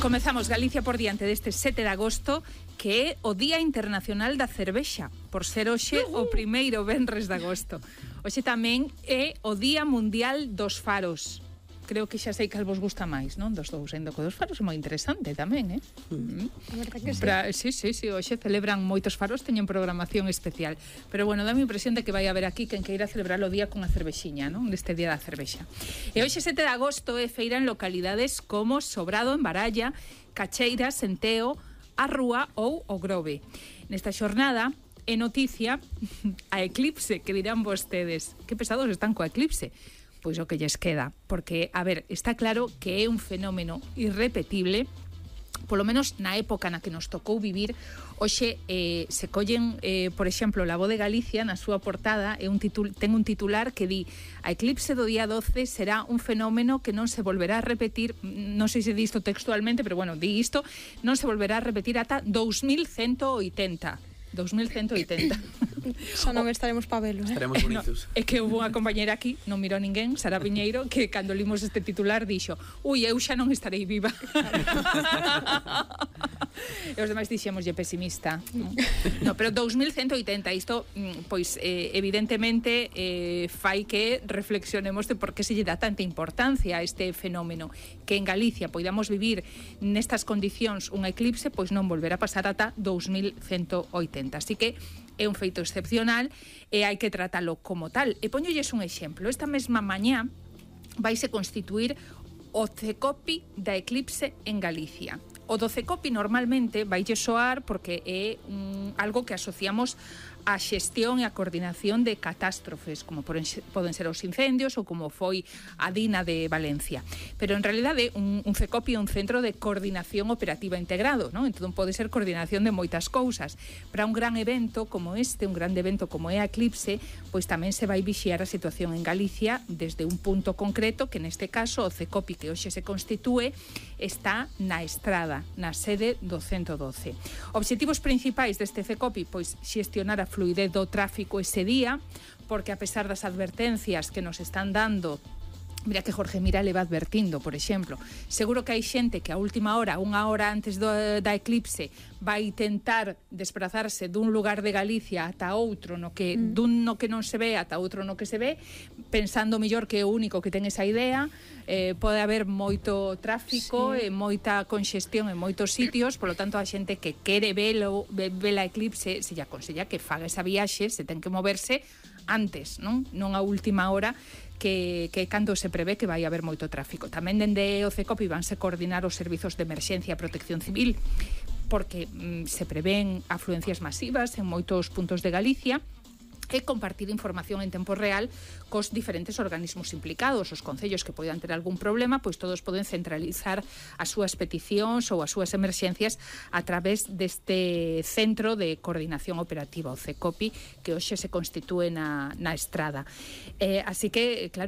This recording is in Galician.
Comezamos Galicia por diante deste 7 de agosto, que é o Día Internacional da Cervexa, por ser hoxe o primeiro venres de agosto. Hoxe tamén é o Día Mundial dos Faros. Creo que xa sei que vos gusta máis, non? Dos dous, ainda co dos faros é moi interesante tamén, eh? A verdade que sí. Sí, hoxe celebran moitos faros, teñen programación especial. Pero bueno, dá-me impresión de que vai haber aquí quen queira celebrar o día con a cervexiña, non? Neste Día da Cervexa. E hoxe 7 de agosto é feira en localidades como Sobrado, en Baralla, Cacheira, Senteo, a Rúa ou o Grove. Nesta xornada é noticia a eclipse, que dirán vostedes. Que pesados están coa eclipse. Pois o que lles queda, porque, a ver, está claro que é un fenómeno irrepetible, polo menos na época na que nos tocou vivir. Hoxe se collen, por exemplo, La Voz de Galicia, na súa portada, ten un titular que di: a eclipse do día 12 será un fenómeno que non se volverá a repetir, non sei se di isto textualmente, pero bueno, di isto, non se volverá a repetir ata 2180. 2180. Xa non estaremos pa velo, Estaremos bonitos. É que houve unha compañera aquí, non mirou ninguén, Sara Piñeiro, que cando limos este titular dixo: ui, eu xa non estarei viva. E os demais dixémoslle pesimista. No, pero 2180, isto, pois, evidentemente, fai que reflexionemos de por que se lle dá tanta importancia a este fenómeno. Que en Galicia poidamos vivir nestas condicións unha eclipse, pois non volverá a pasar ata 2180. Así que é un feito excepcional e hai que tratalo como tal. E poñolles un exemplo. Esta mesma mañá vaise constituir o Cecopi da eclipse en Galicia. O do Cecopi normalmente vaille soar porque é algo que asociamos a xestión e a coordinación de catástrofes, como poden ser os incendios ou como foi a Dina de Valencia. Pero en realidade un Cecopi é un centro de coordinación operativa integrado, non? Entón pode ser coordinación de moitas cousas. Para un gran evento como este, un grande evento como é a eclipse, pois tamén se vai vixiar a situación en Galicia desde un punto concreto, que neste caso o Cecopi que hoxe se constitúe está na Estrada, na sede do 112. Obxectivos principais deste Cecopi, pois xestionar a fluidez do tráfico ese día, porque a pesar das advertencias que nos están dando, mira que Jorge Mira le va advertindo, por exemplo, seguro que hai xente que a última hora, unha hora antes da eclipse, vai tentar desplazarse dun lugar de Galicia ata outro, dun no que non se ve ata outro no que se ve, pensando mellor que é o único que ten esa idea. Pode haber moito tráfico e moita conxestión en moitos sitios, polo tanto a xente que quere ver a eclipse se lle aconsella que faga esa viaxe, se ten que moverse antes, non a última hora, que cando se prevé que vai haber moito tráfico. Tamén dende o Cecopi vanse coordinar os servizos de emerxencia e protección civil, porque se prevén afluencias masivas en moitos puntos de Galicia, e compartir información en tempo real cos diferentes organismos implicados. Os concellos que poidan ter algún problema, pois todos poden centralizar as súas peticións ou as súas emerxencias a través deste centro de coordinación operativa, o Cecopi, que hoxe se constitúe na Estrada. Así que, claro,